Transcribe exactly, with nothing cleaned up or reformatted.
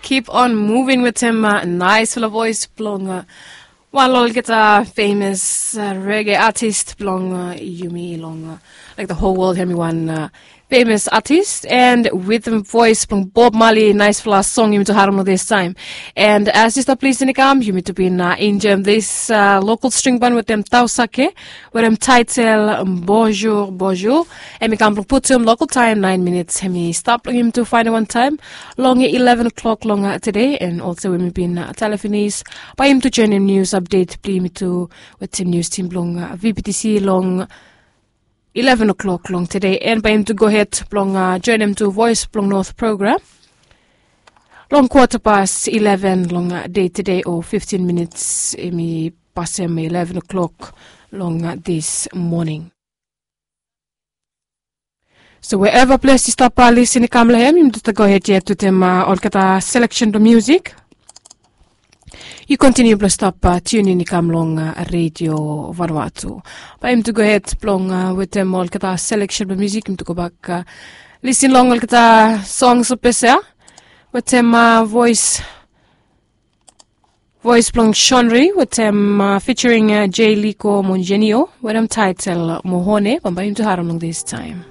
Keep on moving wetem naisfala voes blong wan long olgeta famous rege atis blong yumi long, like, the whole world, hemi wan famous atis and wetem voes blong Bob Marley. Naisfala song yumi tu harem long this time. And as you stop listening, kam yumi tu bin enjoyim this local string ban wetem Tausake wetem title Bonjour Bonjour. Hemi kam blong putum local time nine minutes, hemi stap long yumi tu faenem wan taem long eleven o'clock long tede. And also we mi bin talem finis bae yumi tu joenem nius update blong yumi tu wetem nius tim blong VPTC long eleven o'clock long tede. And bae yumi tu gohed blong joenem tu Voes blong North program long kwata pas eleven long dei tede, o fiftin minits hemi pasem eleven o'clock long this moning. So wherever ples yu stap lisin i kam long hem, yumi tu gohed yet wetem olgeta selection blong musik. Yu kontiniu blong stap tiunin i kam long Radio Vanuatu. Bae yumi tu gohed blong wetem olgeta selection blong musik, yumi tu gobak lisin long olgeta songs blong ples ya wetem voes voes blong Shonri wetem featuring Jay Liko mo Jenio wetem title Mohone. Bambae yumi tu harem long this time.